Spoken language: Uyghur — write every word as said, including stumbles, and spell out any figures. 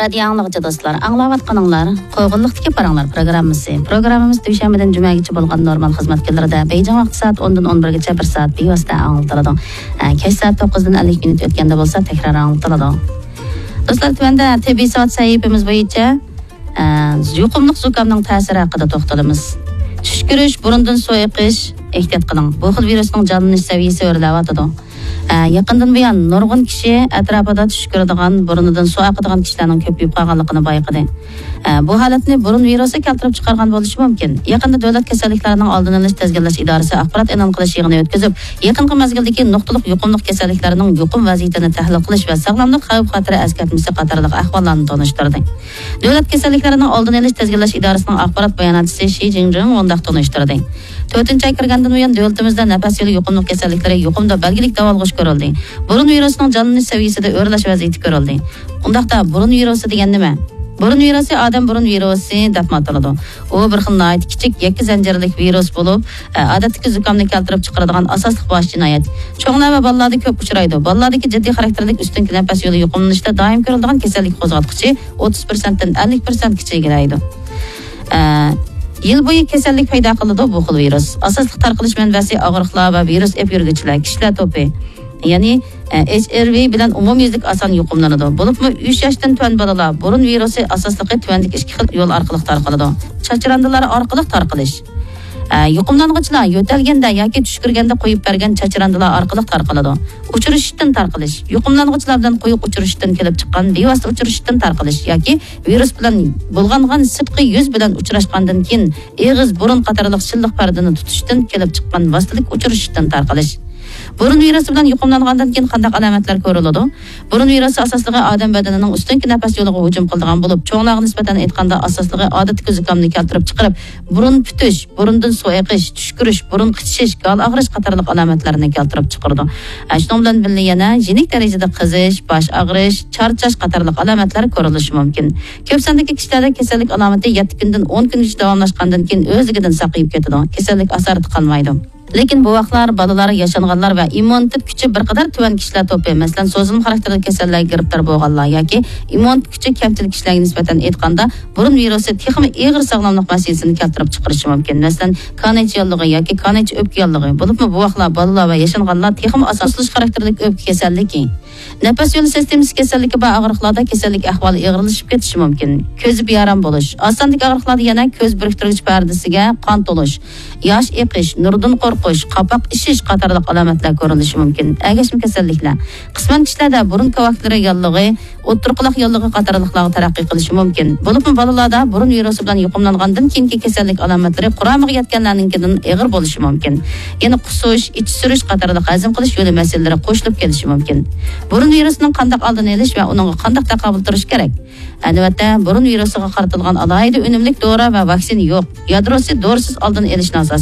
رادىيو ئاڭلىغۇچى دوستلار، ئاڭلاۋاتقىنىڭلار قوغۇنلۇقتىكى پاراڭلار پروگراممىسى. پروگراممىمىز دۈشەنبىدىن جۈمەگىچە بولغان نورمال خىزمەت كۈنلىرىدە بېيجىڭ ۋاقتى سائەت ئوندىن ئون بىرگىچە بىر سائەت بىۋاسىتە ئاڭلىتىلىدۇ. ئە، كەچ سائەت توققۇزدىن ئەللىك مىنۇت ئۆتكەندە بولسا تەكرار ئاڭلىتىلىدۇ. دوستلار، تۆۋەندە تېببىي ساۋات سەھىپىمىز بويىچە، ئە، يۇقۇملۇق زۇكامنىڭ تەسىرى ھەققىدە توختىلىمىز. چۈشكۈرۈش، بۇرۇندىن سۇ ئېقىش، ئېھتىيات قىلىڭ. بۇ خىل ۋىرۇسنىڭ جانلىنىش سەۋىيەسى ئۆرلەۋاتىدۇ. ئە، يېقىندىن بۇيان نۇرغۇن كىشى ئەتراپىدا چۈشكۈرىدىغان، بۇرنىدىن سۇ ئاقىدىغان كىشىلەرنىڭ كۆپىيىپ قالغانلىقىنى بايقىدى. ئە، بۇ ھالەتنى بۇرۇن ۋىرۇسى كەلتۈرۈپ چىقارغان بولۇشى مۇمكىن. يېقىندا دۆلەت كېسەللىكلەرنىڭ ئالدىنى ئېلىش تىزگىنلەش ئىدارىسى ئاخبارات ئېلان قىلىش يىغىنى ئۆتكۈزۈپ، يېقىنقى مەزگىلدىكى نۇقتىلىق يۇقۇملۇق كېسەللىكلەرنىڭ يۇقۇم ۋەزىيىتىنى تەھلىل قىلىش ۋە ساغلاملىق خەۋپ-خەتىرى ئەسكەرتمىسى قاتارلىق ئەھۋاللارنى تونۇشتۇردى. دۆلەت كېسەللىكلەرنىڭ ئالدىنى ئېلىش تىزگىنلەش ئىدارىسىنىڭ ئاخبارات باياناتچىسى شى جىڭجىڭ مۇنداق تونۇشتۇردى. تۆتىنچى ئاي كىرگەندىن بۇيان، دۆلىتىمىزدە نەپەس يولى يۇقۇملۇق كېسەللىكلىرى يۇقۇمدا بەلگىلىك داۋالغۇش كۆرۈلدى. بۇرۇن ۋىرۇسىنىڭ جانلىنىش سەۋىيەسىدە ئۆرلەش ۋەزىيىتى كۆرۈلدى. ئۇنداقتا، بۇرۇن ۋىرۇسى دېگەن نېمە؟ بۇرۇن ۋىرۇسى ئادەم بۇرۇن ۋىرۇسى دەپمۇ ئاتىلىدۇ. ئۇ بىر خىل ناھايىتى كىچىك، يەككە زەنجىرلىك ۋىرۇس بولۇپ، ئە، ئادەتتىكى زۇكامنى كەلتۈرۈپ چىقىرىدىغان ئاساسلىق باش جىنايەت. چوڭلار ۋە بالىلاردا كۆپ ئۇچرايدۇ. بالىلاردىكى جىددىي خاراكتېرلىك ئۈستۈنكى نەپەس يولى يۇقۇملىنىشتا دائىم كۆرۈلىدىغان كېسەللىك قوزغاتقۇچى ئوتتۇز پىرسەنتتىن ئەللىك پىرسەنتكىچە ئىگىلەيدۇ. ئە، يىل بويى كېسەللىك پەيدا قىلىدۇ بۇ خىل ۋىرۇس. ئاساسلىق تارقىلىش مەنبەسى ئاغرىقلار ۋە ۋىرۇس ئېلىپ يۈرگۈچىلەر، كىشىلەر توپى، يەنى، ئە، ئېچ ئاي ۋى بىلەن ئومۇميۈزلۈك ئاسان يۇقۇملىنىدۇ. بولۇپمۇ ئۈچ ياشتىن تۆۋەن بالىلار بۇرۇن ۋىرۇسى ئاساسلىقى تۆۋەندىكى ئىككى خىل يول ئارقىلىق تارقىلىدۇ. چاچراندىلار ئارقىلىق تارقىلىش. ئە، يۇقۇملانغۇچىلار يۆتەلگەندە ياكى چۈشكۈرگەندە قويۇپ بەرگەن چاچراندىلار ئارقىلىق تارقىلىدۇ. ئۇچرىشىشتىن تارقىلىش. يۇقۇملانغۇچىلار بىلەن قويۇق ئۇچرىشىشتىن كېلىپ چىققان بىۋاسىتە ئۇچرىشىشتىن تارقىلىش ياكى ۋىرۇس بىلەن بۇلغانغان سىرتقى يۈز بىلەن ئۇچراشقاندىن كېيىن ئېغىز، بۇرۇن قاتارلىق شىللىق پەردىنى تۇتۇشتىن كېلىپ چىققان ۋاسىتىلىك ئۇچرىشىشتىن تارقىلىش. بۇرۇن ۋىرۇسى بىلەن يۇقۇملانغاندىن كېيىن قانداق ئالامەتلەر كۆرۈلىدۇ؟ بۇرۇن ۋىرۇسى ئاساسلىقى ئادەم بەدىنىنىڭ ئۈستۈنكى نەپەس يولىغا ھۇجۇم قىلىدىغان بولۇپ، چوڭلارغا نىسبەتەن ئېيتقاندا، ئاساسلىقى ئادەتتىكى زۇكامنى كەلتۈرۈپ چىقىرىپ، بۇرۇن پۈتۈش، بۇرۇندىن سۇ ئېقىش، چۈشكۈرۈش، بۇرۇن قىچىشىش، گال ئاغرىش قاتارلىق ئالامەتلەرنى كەلتۈرۈپ چىقىرىدۇ. ئە، شۇنىڭ بىلەن بىللە يەنە يېنىك دەرىجىدە قىزىش، باش ئاغرىش، چارچاش قاتارلىق ئالامەتلەر كۆرۈلۈشى مۇمكىن. كۆپ ساندىكى كىشىلەردە كېسەللىك ئالامىتى يەتتە كۈندىن ئون كۈنگىچە داۋاملاشقاندىن كېيىن ئۆزلۈكىدىن ساقىيىپ كېتىدۇ. كېسەللىك ئاسارىتى قالمايدۇ. لېكىن بوۋاقلار، بالىلار، ياشانغانلار ۋە ئىممۇنىتېت كۈچى بىر قەدەر تۆۋەن كىشىلەر توپى، مەسىلەن، سوزۇلما خاراكتېرلىك كېسەللەرگە گىرىپتار بولغانلار ياكى ئىممۇنىتېت كۈچى كەمچىل كىشىلەرگە نىسبەتەن ئېيتقاندا، بۇرۇن ۋىرۇسى تېخىمۇ ئېغىر ساغلاملىق مەسىلىسىنى كەلتۈرۈپ چىقىرىشى مۇمكىن. مەسىلەن، كانايچە ياللۇغى ياكى كانايچە ئۆپكە ياللۇغى، بولۇپمۇ بوۋاقلار، بالىلار ۋە ياشانغانلار تېخىمۇ ئاسان سۇسلىنىش خاراكتېرلىك ئۆپكە كېسەللىكى. نەپەس يولى سىستېمىسى كېسەللىكى بار ئاغرىقلاردا كېسەللىك ئەھۋالى ئېغىرلىشىپ كېتىشى مۇمكىن. كۆزى بىئارام بولۇش. ئاز ساندىكى ئاغرىقلاردا يەنە كۆز بىرىكتۈرگۈچ پەردىسىگە قان تولۇش، ياش ئېقىش، نۇردىن قورقۇش، قاپاق ئىشىش قاتارلىق ئالامەتلەر كۆرۈلۈشى مۇمكىن. ئەگەشمە كېسەللىكلەر. قىسمەن كىشىلەردە بۇرۇن كاۋاكلىرى ياللۇغى، ئوتتۇرا قۇلاق ياللۇغى قاتارلىقلارغا تەرەققىي قىلىشى مۇمكىن. بولۇپمۇ بالىلاردا بۇرۇن ۋىرۇسى بىلەن يۇقۇملانغاندىن كېيىنكى كېسەللىك ئالامەتلىرى قۇرامىغا يەتكەنلەرنىڭكىدىن ئېغىر بولۇشى مۇمكىن. يەنە قۇسۇش، ئىچى سۈرۈش قاتارلىق ھەزىم قىلىش يولى مەسىلىلىرى قوشۇلۇپ كېلىشى مۇمكىن. بۇرۇن ۋىرۇسىنىڭ قانداق ئالدىنى ئېلىش ۋە ئۇنىڭغا قانداق تاقابىل تۇرۇش كېرەك؟ ئە، نۆۋەتتە بۇرۇن ۋىرۇسىغا قارىتىلغان ئالاھىدە ئۈنۈملۈك دورا ۋە ۋاكسىنا يوق. يادروسى دورىسىز ئالدىنى ئېلىشنى ئاساس